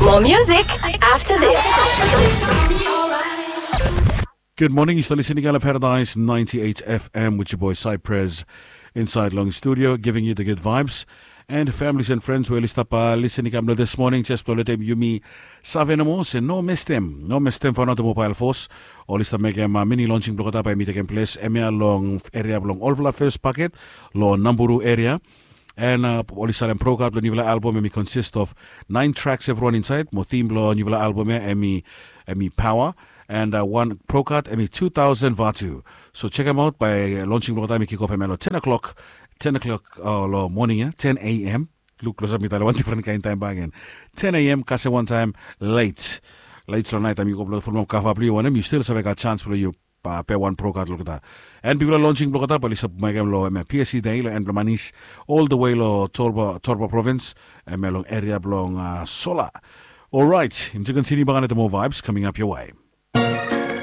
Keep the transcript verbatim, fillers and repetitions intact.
More music after this. Good morning. Yu stap listening on Paradise ninety-eight F M with your boy Cypress inside long studio, giving you the good vibes. And families and friends, we oli stap listening kam lo this morning, just lo letem yumi save nomo se no mestem, no mestem for another mobile force. Oli stap mekem uh, mini launching blokota by mi taking place emia long area blong olfala first packet lo Namburu area. And uh, oli salem prokat lo nivela album emi consist of nine tracks everyone inside. Mo theme lo nivela album ya emi emi power. And uh, one prokat emi two thousand vatu. So check them out by launching blokota emi kick off emi lo ten o'clock, ten o'clock uh, lo morning ya, ten a.m. Look close up mi tale one different kind time back again. ten a.m. Kase one time late. Late lo night time you go blow full mom kafa blue one you still save got chance for you. Pe wan prokat lokata. And people are launching blokata pali sub mekem lo eme P S C day lo en blamanis all the way lo Torba Torba province. Eme long area blong uh, Sola. All right, im to continue bangane the more vibes coming up your way.